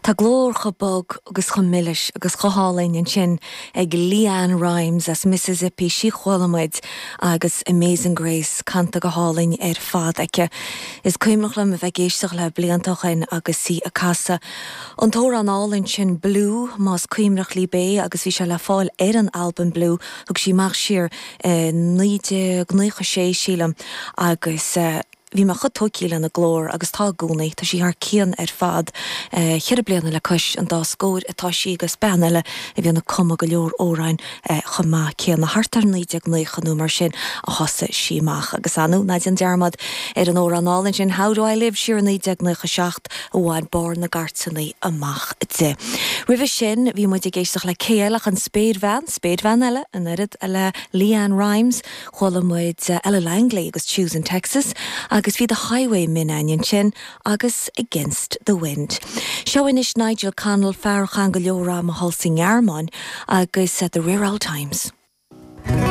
Tá glór chomh bog agus chomh milis agus chomh hálainn ansin ag LeAnn Rimes as Mississippi, sí a chuala muid agus Amazing Grace canta go hálainn ar fad aici. Is cuimhneach liom a bheith ag éisteacht léi blianta ó shin agus í ag casadh an t-amhrán álainn sin Blue, más cuimhneach libh é agus bhí sé le fáil ar an albam Blue, thug sí amach siar i 1996 sílim agus. Bhí mé chomh tóigthí lena glór agus tá i gcónaí. Tá sí thar cionn ar fad. Cheithre bliana le cois an dá scóir atá sí agus bean eile a bhíonn ag cumadh go leor amhráin chomh maith céanna. Thart ar 1990 nó mar sin a thosaigh sí amach. Agus ar ndóigh, ná déan dearmad ar an amhrán álainn sin How Do I Live siar i 1997 a bhain barr na gcairteanna amach di. Roimhe sin bhí muid ag éisteacht le cé eile ach an spéirbhean, spéirbhean eile, an oiread le LeAnn Rimes, Chuala muid Ella Langley agus Choosing Texas agus bhí The Highwaymen againn ansin agus Against the Wind. Seo anois Nigel Connell, fear a chaith go leor ama thall sa nGearmáin agus The Rare Old Times.